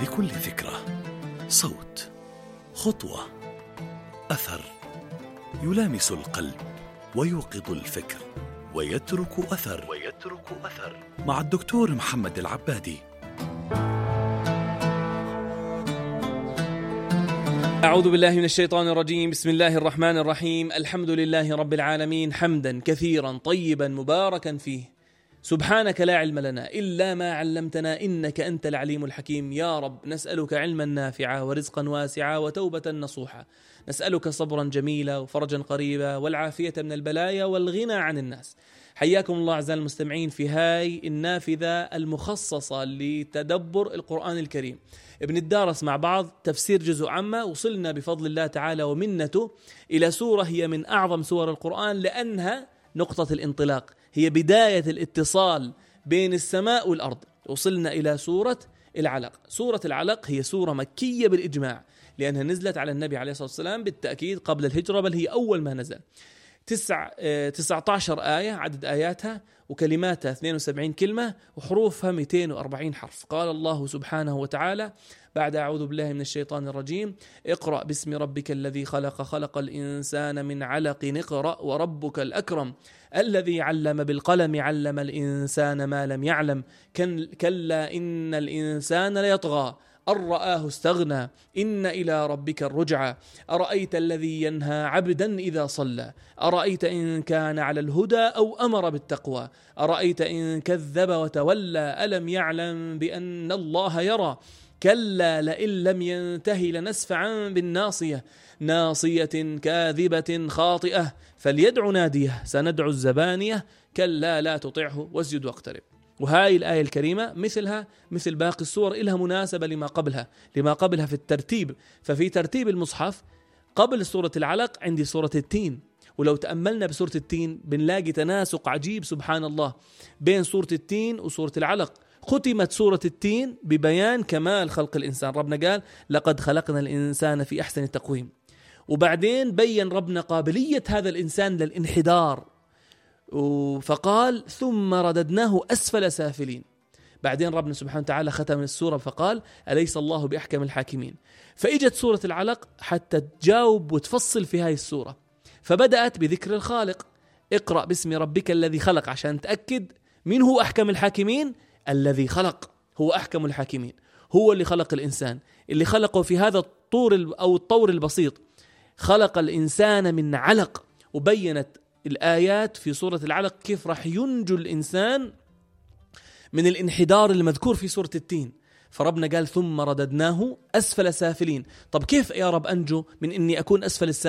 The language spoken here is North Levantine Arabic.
لكل فكرة صوت، خطوة، أثر يلامس القلب ويوقظ الفكر ويترك أثر مع الدكتور محمد العبادي. أعوذ بالله من الشيطان الرجيم. بسم الله الرحمن الرحيم. الحمد لله رب العالمين، حمدا كثيرا طيبا مباركا فيه. سبحانك لا علم لنا إلا ما علمتنا إنك أنت العليم الحكيم. يا رب نسألك علما نافعا ورزقا واسعا وتوبة نصوحا. نسألك صبرا جميلا وفرجا قريبا والعافية من البلايا والغنى عن الناس. حياكم الله أعزائي المستمعين في هاي النافذة المخصصة لتدبر القرآن الكريم. بنتدارس مع بعض تفسير جزء عامة. وصلنا بفضل الله تعالى ومنته إلى سورة هي من أعظم سور القرآن، لأنها نقطة الانطلاق، هي بداية الاتصال بين السماء والأرض. وصلنا إلى سورة العلق. سورة العلق هي سورة مكية بالإجماع، لأنها نزلت على النبي عليه الصلاة والسلام بالتأكيد قبل الهجرة، بل هي أول ما نزل. 19 آية عدد آياتها، وكلماتها 72 كلمة، وحروفها 240 حرف. قال الله سبحانه وتعالى بعد أعوذ بالله من الشيطان الرجيم: اقرأ باسم ربك الذي خلق، خلق الإنسان من علق، اقرأ وربك الأكرم الذي علم بالقلم، علم الإنسان ما لم يعلم، كلا إن الإنسان ليطغى أن رآه استغنى، إن إلى ربك الرجعى، أرأيت الذي ينهى عبدا إذا صلى، أرأيت إن كان على الهدى أو أمر بالتقوى، أرأيت إن كذب وتولى، ألم يعلم بأن الله يرى، كلا لئن لم ينتهي لنسفعا بالناصية، ناصية كاذبة خاطئة، فليدع ناديه، سندع الزبانية، كلا لا تطعه واسجد واقترب. وهاي الآية الكريمة مثلها مثل باقي السور إلها مناسبة لما قبلها في الترتيب. ففي ترتيب المصحف قبل سورة العلق عندي سورة التين، ولو تأملنا بسورة التين بنلاقي تناسق عجيب سبحان الله بين سورة التين وسورة العلق. ختمت سورة التين ببيان كمال خلق الإنسان. ربنا قال: لقد خلقنا الإنسان في أحسن تقويم. وبعدين بيّن ربنا قابلية هذا الإنسان للانحدار، فقال: ثم رددناه أسفل سافلين. بعدين ربنا سبحانه وتعالى ختم السورة فقال: أليس الله بأحكم الحاكمين. فإجت سورة العلق حتى تجاوب وتفصل في هاي السورة، فبدأت بذكر الخالق: اقرأ باسم ربك الذي خلق، عشان تأكد من هو أحكم الحاكمين. الذي خلق هو أحكم الحاكمين، هو اللي خلق الإنسان، اللي خلقه في هذا الطور البسيط. خلق الإنسان من علق. وبينت الآيات في سورة العلق كيف راح ينجو الإنسان من الانحدار المذكور في سورة التين. فربنا قال: ثم رددناه أسفل سافلين. طب كيف يا رب أنجو من أني أكون أسفل السافلين؟